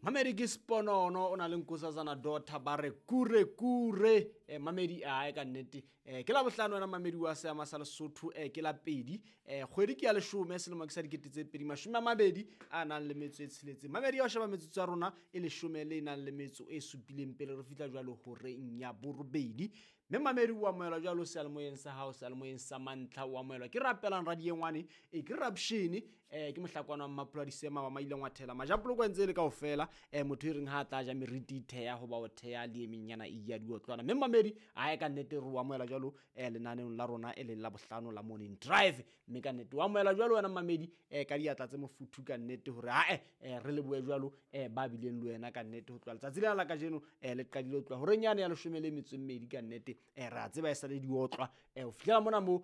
Mamedi ke Sponono o na le Nkosazana Daughter ba re kure kure. Mamedi ae ka nnete, ke la bohlano wena mamedi wa seama sa Lesotho, ke la pedi, kgwedi ke ya leshome selemo ke sa 2022 a nang le metso e tsheletseng. Mamedi ya ho sheba metsotso ya rona e leshome le nang le metso e supileng pele re fihla jwalo horeng ya borobedi. Mme mamedi o amohelwa jwalo seyalemoyeng sa hao, seyalemoyeng sa mantlha o amohelwa ke rapelang radiengwane, ke rapshene, ke mohlakwana wa Mmapula Disema wa maile ngwathela majapoloko ntse le kaofela, motho e reng ha tla ja meriti theya hoba o theya le emenyana e ya diotlwana. Mme mamedi ae ka nnete re o amohela jwalo lenaneong la rona e leng la bohlano la Morning Drive. Mme ka nnete o amohela jwalo wena mamedi, ka diatla tse mofuthu ka nnete hore ae, re lebohe jwalo, ba bileng le wena ka nnete ho tloha letsatsi lena la kajeno, le qadile ho tloha horeng yane ya 12 ka nnete. Re a tseba e sale diotlwa, ho fihlela mona moo,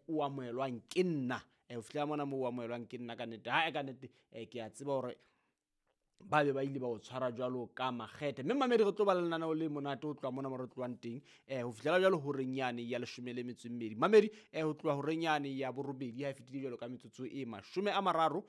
o amohelwang ke nna, ho fihlela mona moo o amohelwang ke nna ka nnete. Hae ka nnete, ke a tseba hore ba be ba ile ba o tshwara jwalo ka makgethe. Mme mamedi re tlo ba le lenaneo le monate ho tloha mona mo re tlohang teng, ho fihlela jwalo horeng yane ya 12. Mamedi, ho tloha horeng yane ya borobedi ha e fetile jwalo ka metsotso e 30,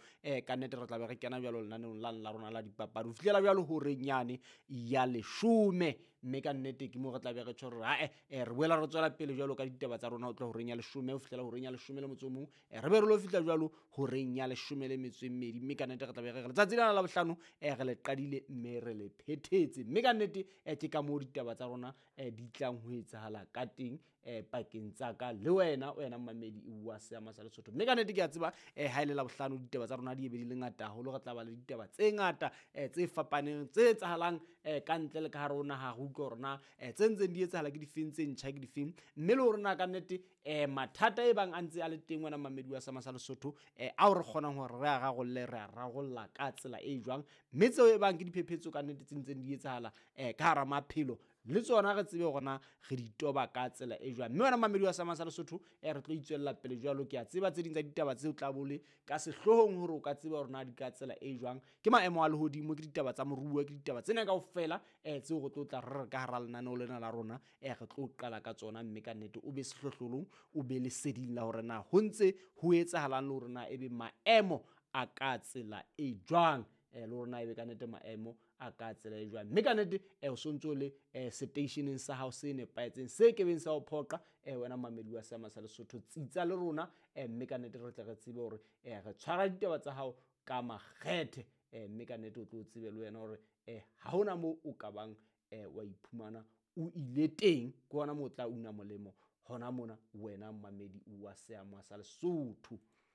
ka nnete re tla be re kena jwalo lenaneong la rona la dipapadi ho fihlela jwalo horeng yane ya 10. Mme ka nnete ke mo re tla be re tjho hore ae, re boela re tswela pele jwalo ka ditaba tsa rona ho tloha horeng ya 10 ho fihlela horeng ya 11, re be re lo fihla jwalo horeng ya 12. Mme ka nnete re tla be re re letsatsi lena la bohlano, re le qadile mme re le phethetse. Mme ka nnete, ke ka moo ditaba tsa rona, di tlang ho etsahala ka teng, pakeng tsa ka le wena, wena mamedi wa seama sa Lesotho. Mme ka nnete ke a tseba, ha ile la bohlano ditaba tsa rona di be di le ngata haholo, re tla ba le ditaba tse ngata, tse fapaneng tse etsahalang, ka ntle le ka hare ho naha. Re utlwe hore na, tse ntseng di etsahala ke difeng, tse ntjha ke difeng, mme le hore na ka nnete, mathata e bang a ntse a le teng wena mamedi wa seama sa Lesotho, ao re kgonang hore re a rarolle, re a rarolla ka tsela e jwang, mme tseo e bang ke diphephetso ka nnete tse ntseng di etsahala, ka hara maphelo le tsona re tsebe hore na re di toba ka tsela e jwang. Mme wena mamedi wa seama sa Lesotho, re tlo itswella pele jwalo. Ke a tseba tse ding tsa ditaba tseo tla bole ka sehloohong hore o ka tseba hore na di ka tsela e jwang, ke maemo a lehodimo, ke ditaba tsa moruo, ke ditaba tsena kaofela, tseo re tlo tla re re ka hara lenaneo lena la rona, re tlo qala ka tsona. Mme ka nnete o be sehlohlolong, o be leseding la hore na ho ntse ho etsahalang le hore na ebe maemo a ka tsela e jwang, le hore na ebe ka nnete maemo a ka tsela e jwang. Mme ka nnete, o sontso le, seteisheneng sa hao se nepahetseng se kebeng sa ho phoqa, wena mamedi wa seama sa Lesotho, tsitsa le rona, mme ka nnete re tle re tsebe hore, re tshwara ditaba tsa hao ka makgethe, mme ka nnete o tlo tsebe le wena hore, ha hona moo o ka bang, wa iphumana o ile teng, ke hona moo o tla una molemo hona mona wena mamedi wa seama sa Lesotho.